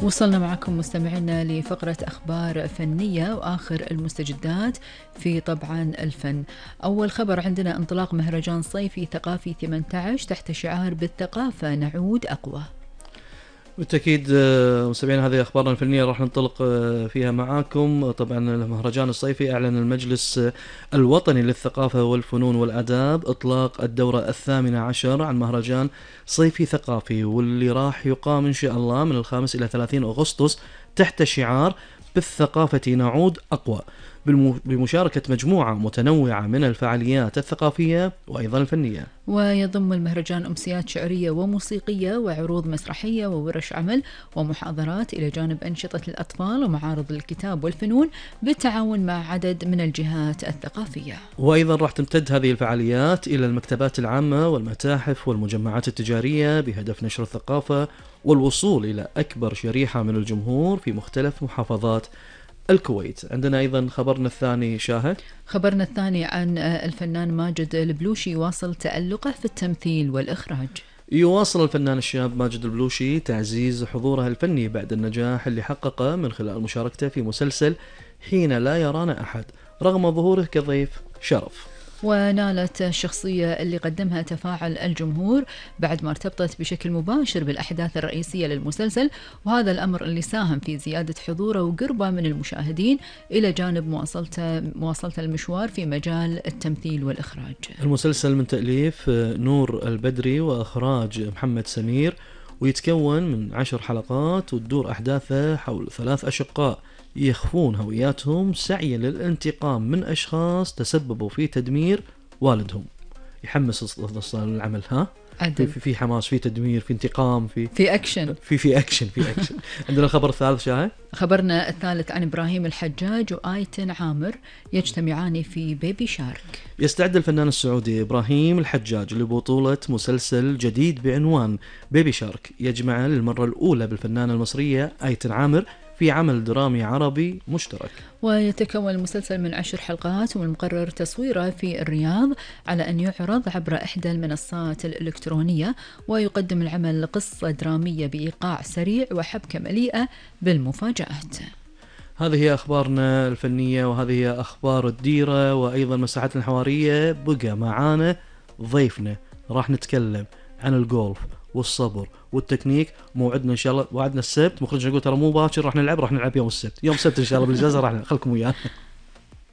وصلنا معكم مستمعينا لفقرة أخبار فنية وآخر المستجدات في طبعا الفن. أول خبر عندنا انطلاق مهرجان صيفي ثقافي 18 تحت شعار بالثقافة نعود أقوى. بالتأكيد مستمعينا هذه أخبارنا الفنية راح ننطلق فيها معاكم. طبعا المهرجان الصيفي أعلن المجلس الوطني للثقافة والفنون والآداب إطلاق الدورة 18 عن مهرجان صيفي ثقافي، واللي راح يقام إن شاء الله من 5 إلى 30 أغسطس تحت شعار بالثقافة نعود أقوى، بمشاركة مجموعة متنوعة من الفعاليات الثقافية وأيضا الفنية. ويضم المهرجان أمسيات شعرية وموسيقية وعروض مسرحية وورش عمل ومحاضرات، إلى جانب أنشطة الأطفال ومعارض الكتاب والفنون بالتعاون مع عدد من الجهات الثقافية. وأيضا راح تمتد هذه الفعاليات إلى المكتبات العامة والمتاحف والمجمعات التجارية بهدف نشر الثقافة والوصول إلى أكبر شريحة من الجمهور في مختلف محافظات الكويت. عندنا أيضا خبرنا الثاني شاهد. خبرنا الثاني عن الفنان ماجد البلوشي يواصل تألقه في التمثيل والإخراج. يواصل الفنان الشاب ماجد البلوشي تعزيز حضوره الفني بعد النجاح اللي حققه من خلال مشاركته في مسلسل حين لا يرانا أحد رغم ظهوره كضيف شرف. ونالت الشخصية اللي قدمها تفاعل الجمهور بعد ما ارتبطت بشكل مباشر بالأحداث الرئيسية للمسلسل، وهذا الأمر اللي ساهم في زيادة حضوره وقربه من المشاهدين إلى جانب مواصلة المشوار في مجال التمثيل والإخراج. المسلسل من تأليف نور البدري وإخراج محمد سمير، ويتكون من 10 حلقات، وتدور أحداثه حول 3 أشقاء يخفون هوياتهم سعيا للانتقام من أشخاص تسببوا في تدمير والدهم. يحمس أصلا العمل، ها؟ في حماس، في تدمير، في انتقام، في أكشن، في أكشن. عندنا الخبر الثالث شاهد. خبرنا الثالث عن إبراهيم الحجاج وآيتن عامر يجتمعان في بيبي شارك. يستعد الفنان السعودي إبراهيم الحجاج لبطولة مسلسل جديد بعنوان بيبي شارك يجمع للمرة الأولى بالفنانة المصرية آيتن عامر في عمل درامي عربي مشترك. ويتكون المسلسل من 10 حلقات، والمقرر تصويره في الرياض على أن يعرض عبر إحدى المنصات الإلكترونية، ويقدم العمل قصة درامية بإيقاع سريع وحبكة مليئة بالمفاجآت. هذه هي أخبارنا الفنية، وهذه هي أخبار الديرة وأيضا مساحتنا الحوارية. بقى معانا ضيفنا راح نتكلم عن الجولف والصبر والتكنيك. موعدنا ان شاء الله، وعدنا السبت، مخرجنا يقول ترى مو باكر راح نلعب يوم السبت، يوم السبت ان شاء الله بالاجازه راح خلكم ويانا.